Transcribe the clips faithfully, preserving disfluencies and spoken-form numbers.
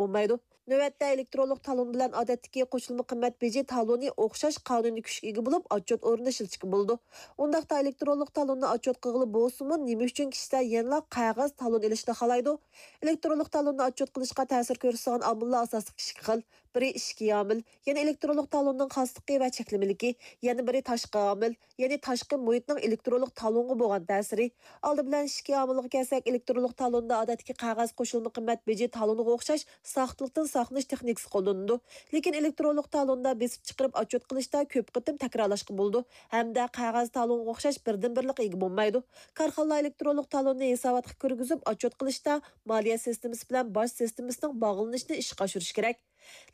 بولمايدۇ. نۆۋەتتە ئېلېكترونلۇق تالون بىلەن ئادەتتىكى قوشۇلما قىممەت بېجى تالونى ئوخشاش قانۇنىي كۈچكە ئىگە بولۇپ، ئاتچوت ئورنىنى ئىشلىتىشكە بولىدۇ. ئۇنداقتا ئېلېكترونلۇق تالوننى ئاتچوت قىلغىلى بولسىمۇ، نېمە ئۈچۈن كىشىلەر يەنىلا قەغەز تالون ئېلىشنى خالايدۇ؟ ئېلېكترونلۇق تالوننى ئاتچوت قىلىشقا تەسىر كۆرسىتىدىغان ئامىللار ئاساسلىقى ئىككى خىل. بىرى ئىچكى ئامىل، يەنى ئېلېكترونلۇق تالوننىڭ خاسلىقى ۋە چەكلىمىلىكى، يەنە بىرى تاشقى ئامىل، يەنى تاشقى مۇھىتنىڭ ئېلېكترونلۇق تالونغا بولغان تەسىرى. ئالدى بىلەن ئىچكى ئامىلغا كەلسەك، ئېلېكترونلۇق تالوندا ئادەتتىكى قەغەز قوشۇلما قىممەت بېجى تالونىغا ئوخشاش ساختىلىقتىن ساقلىنىش تېخنىكىسى قوللىنىلىدۇ. لېكىن ئېلېكترونلۇق تالوندا بېسىپ چىقىرىپ ئاتچوت قىلىشتا كۆپ قېتىم تەكرارلاشقا بولىدۇ ھەمدە قەغەز تالونغا ئوخشاش بىردىنبىرلىككە ئىگە بولمايدۇ. كارخانىلار ئېلېكترونلۇق تالوننى ھېساباتقا كىرگۈزۈپ ئاتچوت قىلىشتا مالىيە سىستېمىسى بىلەن باج سىستېمىسىنىڭ باغلىنىشىنى ئىشقا ئاشۇرۇشى كېرەك.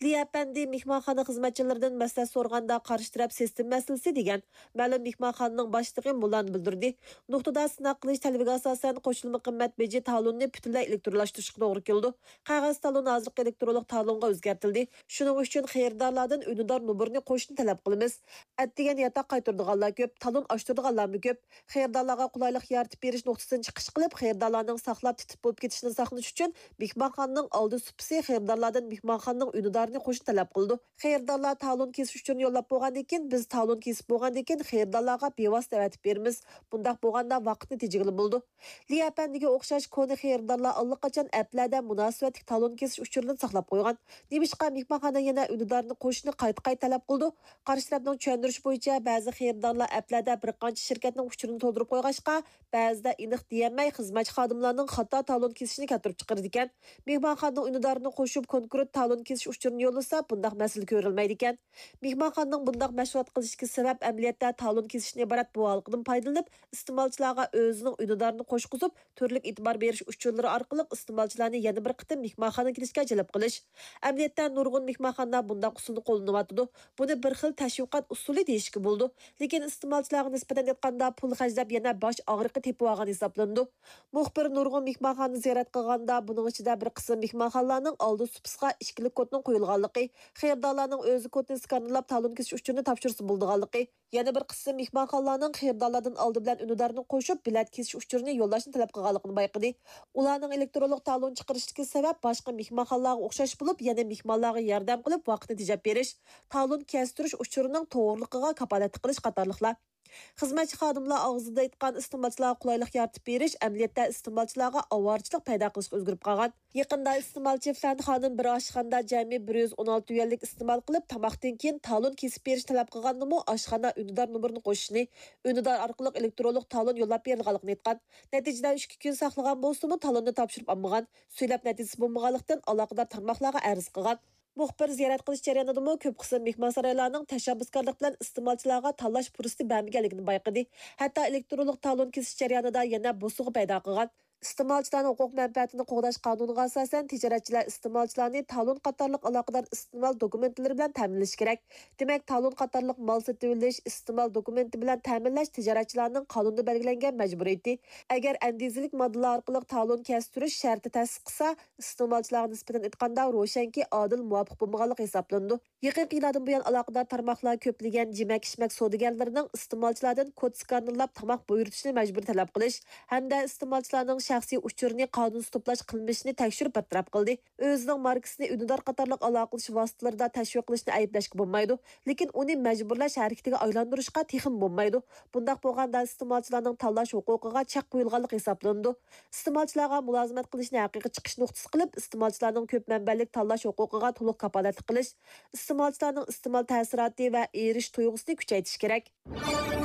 لى ئەپەندى مېھمانخانا خىزمەتچىلىرىدىن مەسلىھەت سورىغاندا، قارشى تەرەپ سىستېما مەسىلىسى دېگەن. مەلۇم مېھمانخانىنىڭ باشلىقى مۇلارنى بىلدۈردى: نۇقتىدا سىناق قىلىش تەلىپىگە ئاساسەن، قوشۇلما قىممەت بېجى تالونىنى پۈتۈنلەي ئېلېكترونلاشتۇرۇشقا توغرا كېلىدۇ. قەغەز تالون ھازىرقى ئېلېكترونلۇق تالونغا ئۆزگەرتىلدى. شۇنىڭ ئۈچۈن خېرىدارلاردىن ئۈندىدار نومۇرىنى قوشۇشنى تەلەپ قىلىمىز. ئەتىگەن ياتاق قايتۇرىدىغانلار كۆپ، تالون ئاچتۇرىدىغانلارمۇ كۆپ. خېرىدارلارغا قولايلىق يارىتىپ بېرىش نۇقتىسىدىن چىقىش قىلىپ، خېرىدارلارنىڭ ساقلاپ تىتىپ بولۇپ كېتىشىدىن ساقلىنىش ئۈچۈن مېھمانخانىنىڭ ئالدى سۇپىسى خېرىدارلاردىن مېھمانخانىنىڭ ئۈندىدارىنى قوشۇشنى تەلەپ قىلىدۇ. خېرىدارلار تالون كېسىش ئۇچۇرىنى يوللاپ بولغاندىن كېيىن، بىز تالون كېسىپ بولغاندىن كېيىن خېرىدارلارغا بىۋاسىتە ئەۋەتىپ بېرىمىز. بۇنداق بولغاندا ۋاقىتنى تېجىگىلى بولىدۇ. لى ئەپەندىگە ئوخشاش كونا خېرىدارلار ئاللىقاچان ئەپلەردە مۇناسىۋەتلىك تالون كېسىش ئۇچۇرىنى ساقلاپ قويغان. نېمىشقا مېھمانخانا يەنە ئۈندىدارنى قوشۇشنى قايتا-قايتا تەلەپ قىلىدۇ؟ قارشى تەرەپنىڭ چۈشەندۈرۈشى بويىچە، بەزى خېرىدارلار ئەپلەردە بىر قانچە شىركەتنىڭ ئۇچۇرىنى تولدۇرۇپ قويغاچقا، بەزىدە ئېنىق دېيەلمەي، خىزمەتچى خادىملارنىڭ خاتا تالون كېسىشىنى كەلتۈرۈپ چىقىرىدىكەن. مېھمانخانىنىڭ ئۈندىدارىنى قوشۇپ، كونكرېت تالون كېسىش ئۇچۇرىنى يوللىسا، بۇنداق مەسىلە كۆرۈلمەيدىكەن. مېھمانخانىنىڭ بۇنداق مەشغۇلات قىلىشتىكى سەۋەب، ئەمەلىيەتتە تالون كېسىشتىن ئىبارەت بۇ ھالقىدىن پايدىلىنىپ، ئىستېمالچىلارغا ئۆزىنىڭ ئۈندىدارىنى قوشقۇزۇپ، تۈرلۈك ئېتىبار بېرىش ئۇچۇرلىرى ئارقىلىق ئىستېمالچىلارنى يەنە بىر قېتىم مېھمانخانىغا كېلىشكە جەلپ قىلىش. ئەمەلىيەتتە، نۇرغۇن مېھمانخانا بۇنداق ئۇسۇلنى قوللىنىۋاتىدۇ. بۇنى بىر خىل تەشۋىقات ئۇسۇلى دېيىشكە بولىدۇ. لېكىن ئىستېمالچىلارغا نىسبەتەن ئېيتقاندا، پۇل خەجلەپ يەنە باش ئاغرىقى تېپىۋالغان ھېسابلىنىدۇ. مۇخبىر نۇرغۇن مېھمانخانىنى زىيارەت قىلغاندا، بۇنىڭ ئىچىدە بىر قىسىم مېھمانخانىلارنىڭ ئالدى سۇپىسىغا ئىككىلىك كودنىڭ قويۇلغانلىقى، خېرىدارلارنىڭ ئۆزى كودنى سكانېرلاپ، تالون كېسىش ئۇچۇرىنى تاپشۇرسا بولىدىغانلىقى، يەنە بىر قىسىم مېھمانخانىلارنىڭ خېرىدارلاردىن ئالدى بىلەن ئۈندىدارنى قوشۇپ، بېلەت كېسىش ئۇچۇرىنى يوللاشنى تەلەپ قىلغانلىقىنى بايقىدى. ئۇلارنىڭ ئېلېكترونلۇق تالون چىقىرىشتىكى سەۋەب باشقا مېھمانخانىلارغا ئوخشاش بولۇپ، يەنە مېھمانلارغا ياردەم قىلىپ، ۋاقىتنى تېجەپ بېرىش، تالون كەستۈرۈش ئۇچۇرىنىڭ توغرىلىقىغا كاپالەتلىك قىلىش قاتارلىقلار. خىزمەتچى خادىملار ئاغزىدا ئېيتقان ئىستېمالچىلارغا قولايلىق يارىتىپ بېرىش ئەمەلىيەتتە ئىستېمالچىلارغا ئاۋارىچىلىق پەيدا قىلىشقا ئۆزگىرىپ قالغان. يېقىندا ئىستېمالچى فەن خانىم بىر ئاشخانىدا جەمئىي بىر يۈز ئون ئالتە يۈەنلىك ئىستېمال قىلىپ، تاماقتىن كېيىن تالون كېسىپ بېرىش تەلەپ قىلغاندىمۇ، ئاشخانا ئۈندىدار نومۇرىنى قوشۇشنى، ئۈندىدار ئارقىلىق ئېلېكترونلۇق تالون يوللاپ بېرىدىغانلىقىنى ئېيتقان. نەتىجىدە ئۈچ كۈن ساقلىغان بولسىمۇ، تالوننى تاپشۇرۇپ ئالمىغان. سۆزلەپ نەتىجىسى بولمىغانلىقتىن، ئالاقىدار تارماقلارغا ئەرز قىلغان. مۇخبىر زىيارەت قىلىش جەريانىدىمۇ كۆپ قىسىم مېھمانسارايلارنىڭ تەشەببۇسكارلىق بىلەن ئىستېمالچىلارغا تاللاش پۇرسىتى بەرمىگەنلىكىنى بايقىدى. ھەتتا ئېلېكترونلۇق تالون كېسىش جەريانىدا يەنە بوسۇغا پەيدا قىلغان. ئىستېمالچىلارنىڭ ھوقۇق مەنپەئەتىنى قوغداش قانۇنىغا ئاساسەن، تىجارەتچىلەر ئىستېمالچىلارنى تالون قاتارلىق ئالاقىدار ئىستېمال دوكۇمېنتلىرى بىلەن تەمىنلىشى كېرەك. دېمەك، تالون قاتارلىق مال سېتىۋېلىش، ئىستېمال دوكۇمېنتى بىلەن تەمىنلەش تىجارەتچىلەرنىڭ قانۇندا بەلگىلەنگەن مەجبۇرىيىتى. ئەگەر ئەندىزىلىك ماددىلار ئارقىلىق تالون كەستۈرۈش شەرتى تەسىس قىلسا، ئىستېمالچىلارغا نىسبەتەن ئېيتقاندا، روشەنكى، ئادىل، مۇۋاپىق بولمىغانلىق ھېسابلىنىدۇ. يېقىنقى يىللاردىن بۇيان، ئالاقىدار تارماقلار كۆپلىگەن يېمەك-ئىچمەك سودىگەرلىرىنىڭ ئىستېمالچىلاردىن كود سكانېرلاپ تاماق بۇيرۇتۇشنى مەجبۇرىي تەلەپ قىلىش ھەمدە ئىستېمالچىلارنىڭ شەخسىي ئۇچۇرىنى قانۇنسىز توپلاش قىلمىشىنى تەكشۈرۈپ بىر تەرەپ قىلدى. ئۆزىنىڭ ماركىسىنى ئۈندىدار قاتارلىق ئالاقىلىشىش ۋاسىتىلىرىدا تەشۋىق قىلىشنى ئەيىبلەشكە بولمايدۇ، لېكىن ئۇنى مەجبۇرلاش ھەرىكىتىگە ئايلاندۇرۇشقا تېخىمۇ بولمايدۇ. بۇنداق بولغاندا، ئىستېمالچىلارنىڭ تاللاش ھوقۇقىغا چەك قويۇلغانلىقى ھېسابلىنىدۇ. ئىستېمالچىلارغا مۇلازىمەت قىلىشنى ھەقىقىي چىقىش نۇقتىسى قىلىپ، ئىستېمالچىلارنىڭ كۆپ مەنبەلىك تاللاش ھوقۇقىغا تولۇق كاپالەتلىك قىلىش، ئىستېمالچىلارنىڭ ئىستېمال تەسىراتى ۋە ئېرىشىش تۇيغۇسىنى كۈچەيتىش كېرەك.